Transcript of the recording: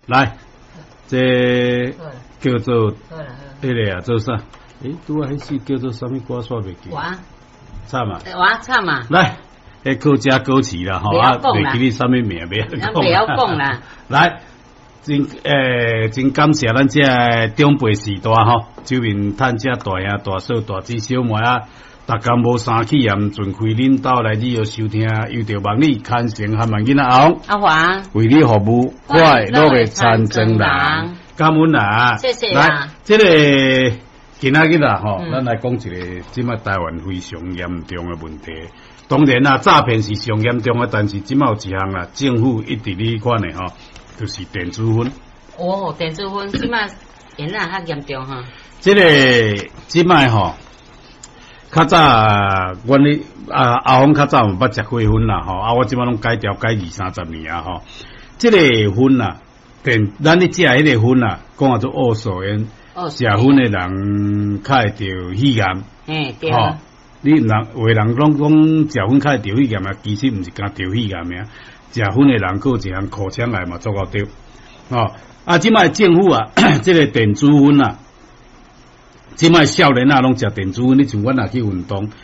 來，這叫做彼个啊，做啥？欸，拄仔彼首叫做啥物歌？煞袂記。我慘啊！我慘啊！來，彼客家歌詞啦，吼啊，袂記你啥物名，袂曉講。袂曉講啦。來，真感謝咱這个長輩時代吼，周明探這大兄大嫂大姊小妹啊，逐工無衫去也毋盡開恁兜來你要收聽，由著望你牽成和萬囡仔阿紅阿華為你服務，快樂的田莊人，感恩啊！謝謝。來，這个今仔日啦吼，咱來講一个這擺台灣非常嚴重的問題。當然啦，詐騙是上嚴重的，但是這擺有一項啦，政府一直咧款的吼，就是電子薰。哦，電子薰這擺現在較嚴重哈。這个這擺吼，較早阮咧啊阿峰較早有捌食過薰啦吼，啊我這擺攏戒掉戒二三十年啊吼。這个薰啊，電咱咧食彼个薰啊，講啊做惡素煙，食薰的人較會著肺癌。嘿，對。吼，你人有的人攏講食薰較會著肺癌啊，其實毋是干著肺癌爾，食薰的人閣有一項口腔癌嘛，足夠著。吼，啊，這擺政府啊，這个電子薰啊。這擺少年仔攏食電子薰，你像阮若去運動，